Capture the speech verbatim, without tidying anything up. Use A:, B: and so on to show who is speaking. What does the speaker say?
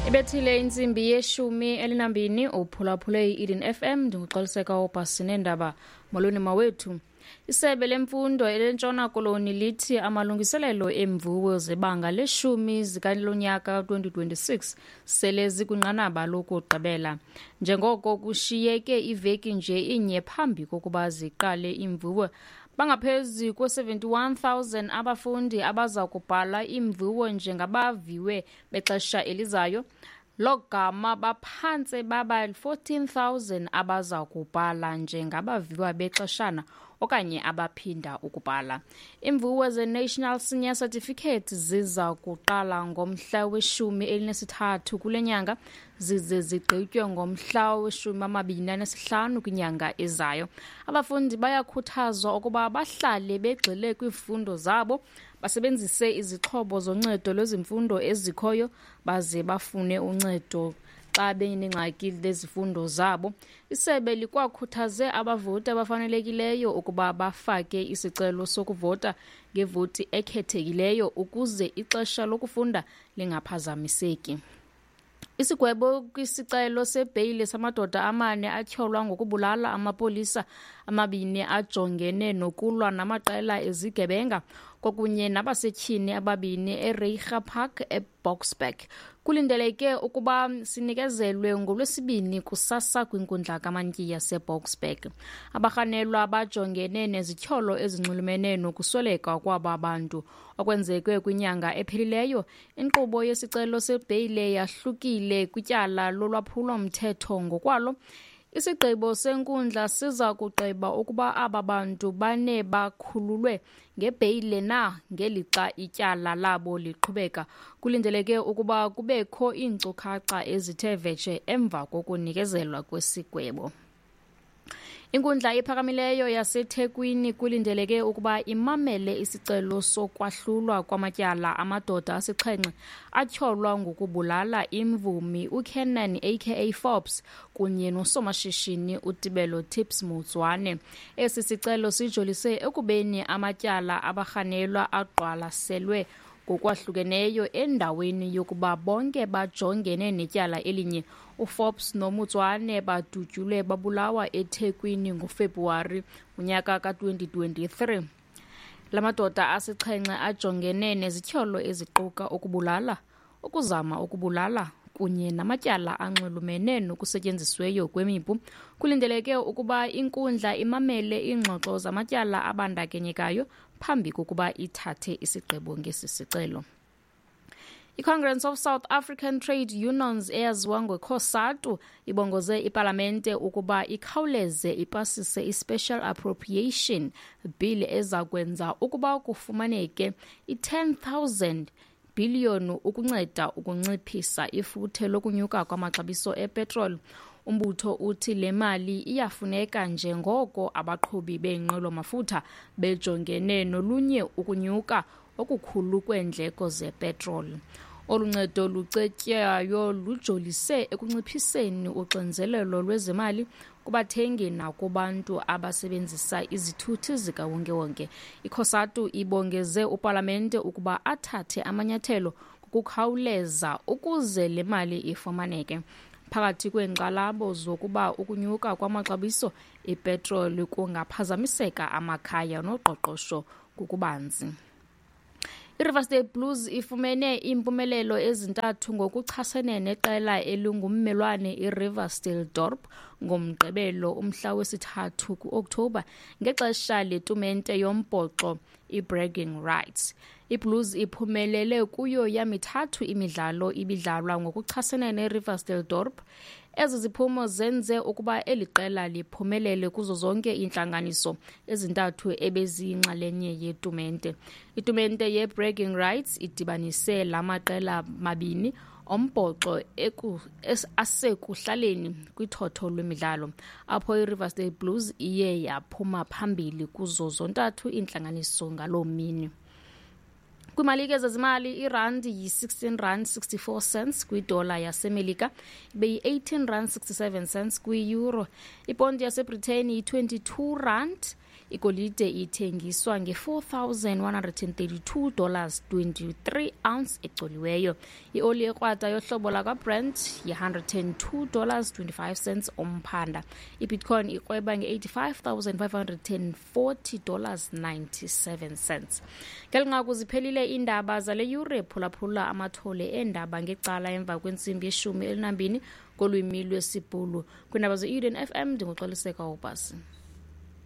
A: Ibethile intsimbi yeshumi elinambini, uphulaphule i-Eden F M. Ndinguxoliseka obhasi neendaba. Molweni mawethu. Isebe lemfundo elentshona Koloni lithi amalungiselelo eemviwo zebanga leshumi zikalonyaka twenty twenty-six sele zikwinqanaba lokugqibela, njengoko kushiyeke iveki nje inye phambi kokuba ziqale iimviwo. Bangaphezu kwe-seventy-one thousand abafundi abaza kubhala iimviwo njengabaviwe bexesha elizayo, logama baphantse baba fourteen thousand abaza kubhala njengabaviwa bexeshana okanye abaphinda ukubhala. Iimviwo ze-National Senior Certificate ziza kuqala ngomhla weshumi elinesithathu kule nyanga, zize zigqitywe ngomhla weshumi amabini anesihlanu kwinyanga ezayo. Abafundi bayakhuthazwa ukuba bahlale begxile kwizifundo zabo, basebenzise izixhobo zoncedo lwezemfundo ezikhoyo, baze bafune uncedo xa benengxaki lezifundo zabo. Isebe likwakhuthaze abavoti abafanelekileyo ukuba bafake isicelo sokuvota ngevoti ekhethekileyo ukuze ixesha lokufunda lingaphazamiseki. Isigwebo kwisicelo sebheyile samadoda amane atyholwa ngokubulala amapolisa amabini ajongene nokulwa namaqela ezigebenga kwakunye nabasetyhini ababini eReiger Park eBoksburg kulindeleke ukuba sinikezelwe ngoLwesibini kusasa kwinkundla kamantyi yaseBoksburg. Abarhanelwa bajongene nezityholo ezinxulumene nokusweleka kwaba bantu okwenzeke kwinyanga ephelileyo. Inkqubo yesicelo sebheyile yahlukile kwityala lolwaphulo-mthetho ngokwalo. Isigqibo senkundla siza kugqiba ukuba aba bantu bane bakhululwe ngebheyile na ngelixa ityala labo liqhubeka. Kulindeleke ukuba kubekho iinkcukacha ezithe vetshe emva kokunikezelwa kwesigwebo. Inkundla ephakamileyo yaseThekwini kulindeleke ukuba imamele isicelo sokwahlulwa kwamatyala amadoda asixhenxe atyholwa ngokubulala imvumi uKiernan A K A Forbes kunye nosomashishini uTebello Tips Motsoane. Esi sicelo sijolise ekubeni amatyala abarhanelwa aqwalaselwe ngokwahlukeneyo endaweni yokuba bonke bajongene netyala elinye. UForbes noMotsoane badutyulwe babulawa eThekwini ngoFebruwari unyaka ka-twenty twenty-three. La madoda asixhenxe ajongene nezityholo eziquka ukubulala, ukuzama ukubulala kunye namatyala anxulumene nokusetyenzisweyo kwemipu. Kulindeleke ukuba inkundla imamele iingxoxo zamatyala abandakanyekayo phambi kokuba ithathe isigqibo ngesi sicelo. I-Congress of South African Trade Unions, eyaziwa ngeCOSATU, ibongoze ipalamente ukuba ikhawuleze ipasise i-Special Appropriation Bill eza kwenza ukuba kufumaneke i-ten thousand billion ukunceda ukunciphisa ifuthe lokunyuka kwamaxabiso epetroli. Umbutho uthi le mali iyafuneka njengoko abaqhubi beenqwelo-mafutha bejongene nolunye ukunyuka okukhulu kweendleko zepetroli. Olu ncedo lucetywayo lujolise ekunciphiseni uxinzelelo lwezemali kubathengi nakubantu abasebenzisa izithuthi zikawonkewonke. ICOSATU ibongeze upalamente ukuba athathe amanyathelo ngokukhawuleza ukuze le mali ifumaneke, phakathi kweenkxalabo zokuba ukunyuka kwamaxabiso epetroli kungaphazamiseka amakhaya noqoqosho ngokubanzi. I-Riversdale Blues ifumene iimpumelelo ezintathu ngokuchasene neqela elingummelwane iRiversdale Dorp ngoMgqibelo umhla wesithathu ku-Okthobha ngexesha letumente yombhoxo iBragging Rights. IBlues iphumelele kuyo yamithathu imidlalo ibidlalwa ngokuchasene neRiversdale Dorp. Ezi ziphumo zenze ukuba eli qela liphumelele kuzo zonke iintlanganiso ezintathu ebeziyinxalenye yetumente. Itumente yeBragging Rights idibanise la maqela mabini ombhoxo asekuhlaleni kwithotho lwemidlalo, apho iRiversdale Blues iye yaphuma phambili kuzo zontathu iintlanganiso ngaloo mini. Kwimalike zezimali, irandi yi-sixteen rand sixty-four cents kwidola yaseMelika, ibe yi-eighteen rand sixty-seven cents kwi-euro. Iponti yaseBritain yi-twenty-two rand Igolide ithengiswa nge-four thousand one hundred and thirty-two dollars twenty-three ounce ecoliweyo. Ioli ekrwada yohlobo lakwaBrent yi-one hundred and two dollars twenty-five cents umphanda. Ibitcoin ikrweba nge-eighty-five thousand five hundred and forty dollars ninety-seven cents. Ngeli nqaku ziphelile iindaba zale yure. Phulaphula amathole eendaba ngecala emva kwentsimbi yeshumi elinambini ngolwimi lwesiBhulu. Kwiindaba ze-Eden F M ndinguXoliseka Ubasi.